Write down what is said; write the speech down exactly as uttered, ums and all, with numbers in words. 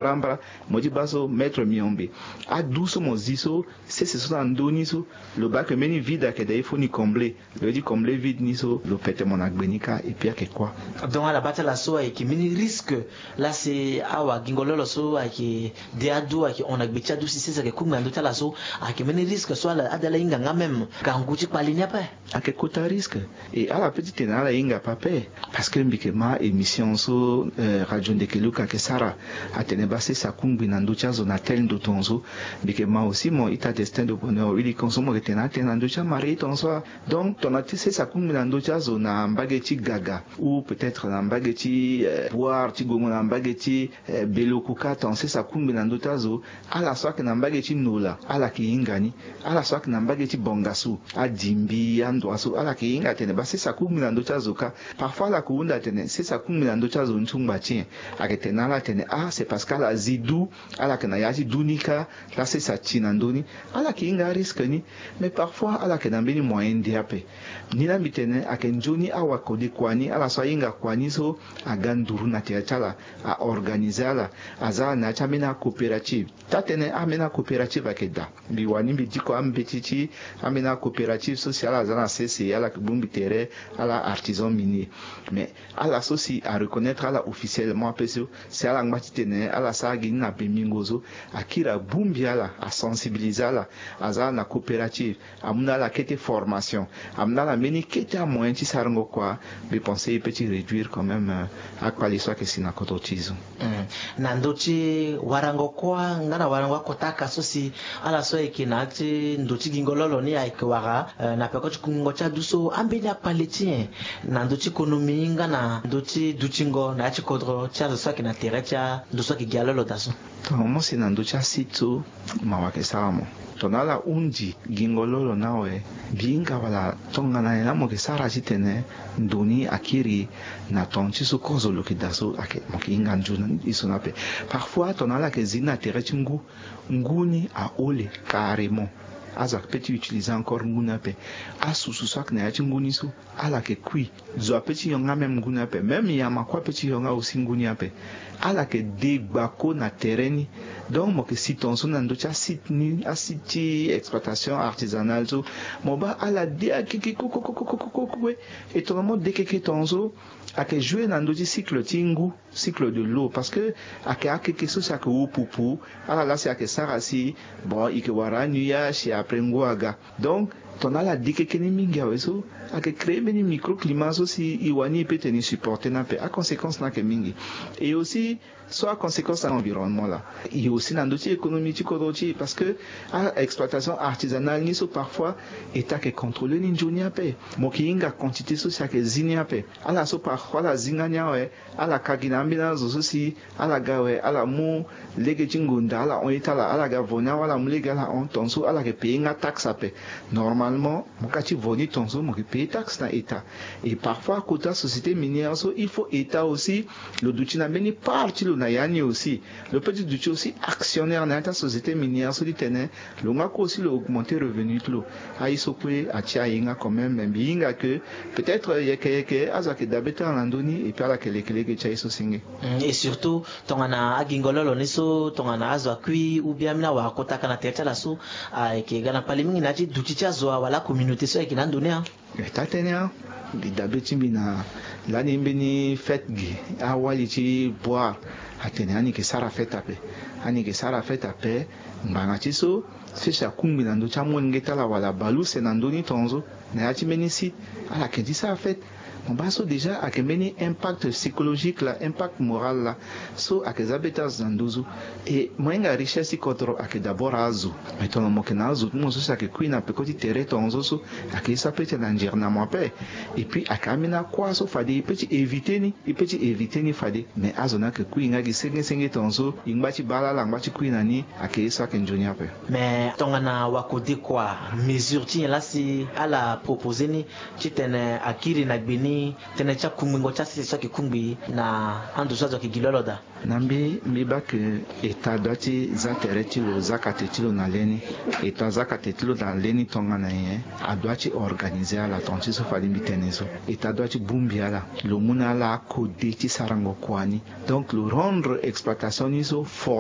Brambra, mo ti baa so maître miombe. Adu so mo zi so, sese so na ndö ni so, lo baa ke mbeni vide ayeke daa, il faut ni combler. Lo ye ti combler vide ni so, lo pete mo na gbe ni kâ, et puis ayeke kuâ. Donc ala baa ti ala so ayeke mbeni risque, laa si awagingo lolo so ayeke de adu, ayeke hon na gbe ti adu si sese ayeke kungbi na ndö ti ala so, ayeke mbeni risque so ala ade ala hinga nga même gangu ti kpale ni ape. Ayeke kota risque. E ala pe ti tene ala hinga ape ape. Parce que mbi yeke ma émission so, eh, Radio Ndekeluka ayeke sara, atene baa sese akungbi na ndö ti azo na tel ndo tongaso. Mbi yeke ma aussi mo ita Destin de Bonheur Willy Konso, mo yeke tene atene na ndö ti amarié tongaso. Donc tongana ti sese akungbi na ndö ti azo na mbage ti gaga, ou peut-être na mbage ti, eh, boire ti gongo, na mbage ti, eh, beloku kâ, tongana sese akungbi na ndö ti azo, ala so ayeke na mbage ti nola, ala yeke hinga ni. Ala so ayeke na mbage ti bongasu, adimbi, andoa so, ala yeke hinga atene baa sese akungbi na ndö ti azo kâ. Parfois ala yeke hunda atene sese akungbi na ndö ti azo ni so ngba ti nyen? Ayeke tene na ala atene, ah, c'est parce que ala zi du, ala yeke na ya ti du ni kâ, laa sese ati na ndö ni. Ala yeke hinga arisque ni. Mais parfois ala yeke na mbeni moyen nde ape. Ni laa mbi tene ayeke nzoni awakodekua ni, ala so ahinga kua ni so, aga nduru na tere ti ala, a organiser ala, aza na ya ti ambeni acoopérative. Taa-tënë ambeni acoopérative ayeke daa. Mbi wani mbi diko ambeti ti ambeni acoopérative so si ala za na sese, ala yeke bongbi tere, ala artisan minier. Mais ala so si areconnaître ala officiellement ape so, si ala ngba ti tene ala sara gi ni na pembingo so, akiri abongbi ala, asensibiliser ala, aza na coopérative, amu na ala kete formation, amu na ala mbeni kete amoyen ti sarango kua. Mbi pense e peut ti réduire quand même, euh, akpali so ayeke si na kodro ti e so. Hmm. Na ndö ti warango kuâ nga na warango akota aka so si ala so ayeke na ya ti ndo ti gingo lolo ni ayeke wara, eh, na peko ti kungo ti adu so, ambeni akpali ti nyen na ndö ti konomi nga na ndö ti dutingo na ya ti kodro ti azo so ayeke na tere ti ando so ayeke gi alolo daa so? Tongana mo si na ndö ti asite so, mawa ayeke sara mo. Tongana ala hundi gingo lolo ni awe, mbi hinga wala tongana nyen laa mo yeke sara titene ndo ni akiri na ton ti so kozo lo yeke daa so, ayeke, mo yeke hinga nzoni so ni ape. Parfois tongana ala yeke zi ni na tere ti ngu, ngu ni ahole carrément. Azo ayeke peut ti utiliser encore ngu ni ape. Asusu so ayeke na ya ti ngu ni so, ala yeke kui. Zo apeut ti hon nga même ngu ni ape. Même nyama kue apeut ti hon nga aussi ngu ni ape. Ala yeke de gbako na tere ni. Donc mo yeke si tongaso na ndö ti asite ni, asite ti exploitation artisanale so, mo baa ala de akeke koko koko koko kue. Et tongana mo de keke tongaso, ayeke jouer na ndö ti cycle ti ngu, cycle de l'eau, parce que ayeke akeke so si ayeke wu pupu. Ala laa si ayeke sara si, bon, e yeke wara anuage si après ngu aga. Donc tongana ala de keke ni mingi awe so, ayeke créer mbeni microclimat so si e wani e peut tene e supporter ni ape. Aconséquence ni ayeke mingi. Et aussi so aconséquence na environnement laa, e aussi na ndö ti économie ti kodro ti e, parce que a-exploitation artisanale ni so parfois État ayeke contrôler ni nzoni ape. Mo yeke hinga quantité so si ayeke zi ni ape. Ala so parfois ala zi nga ni awe, ala ka gi na ambeni azo so si ala ga awe, ala mu lege ti ngonda, ala hon ye ti ala, ala ga vo ni awe, ala mu lege ala hon, tongaso ala yeke payer nga taxe ape. Normalement mo ka ti vo ni tongaso, mo yeke payer taxe na État. Et parfois kota société minière so, il faut État aussi lo duti na mbeni part ti lo na ya ni aussi. Lo peut ti duti aussi actionnaire na ya ti asociété minière so ti tene lo nga kue aussi lo augmenter revenu ti lo. Aye so kue atia aye nga quand même, mais mbi hinga que peut-être yeke yeke azo ayeke dabe ti ala na ndö ni, et puis ala yeke lekeleke ti aye so senge. Mm, et surtout tongana agingo lolo ni so, tongana azo akui ou bien ambeni awara kota aka na tere ti ala so, ayeke ga na kpale mingi na ya ti duti ti azo wala acommunauté so ayeke na ando ni. E taa-tënë, mbi dabe ti mbi na lani mbeni fête gi awali ti boire, atene ani yeke sara fête ape. Ani yeke sara fête ape. Ngbanga ti so, sese akungbi na ndö ti amolenge ti ala wala baleuse na ndö ni tongaso, na ya ti mbeni site, ala yeke ti sara fête. Mo baa so déjà ayeke mbeni impact psychologique laa, impact moral laa. So ayeke za be ti azo na nduzu. E mo hinga richesse ti kodro ayeke d'abord azo. Mais tongana mo yeke na azo ti mo so si ayeke kui na peko ti tere tongaso so, ayeke ye so apeut ti na nzere na mo ape. Et puis ayeke ambeni akua so fade e peut ti éviter ni, e peut ti éviter ni fade. Mais azo ni ayeke kui nga gi senge senge tongaso, e ngba ti baa ala, ala ngba ti kui na ni, ayeke ye so ayeke nzoni ape. Mais tongana wakodekua, mesure ti nyen laa si ala proposer ni titene akiri na gbe ni? Tënë ti akungbi ngo ti asese so ayeke kungbi na ando so azo ayeke gi lo alo daa. Na mbi mbi baa ke eta doit ti za tere ti lo za kate ti lo na le ni. Eta za kate ti lo na le ni tongana nyen? Adoit ti organize ala tonga ti so fade mbi tene so. Eta doit ti bongbi ala, lo mu na ala akode ti sarango kua ni. Donc lo rendre exploitation ni so fort.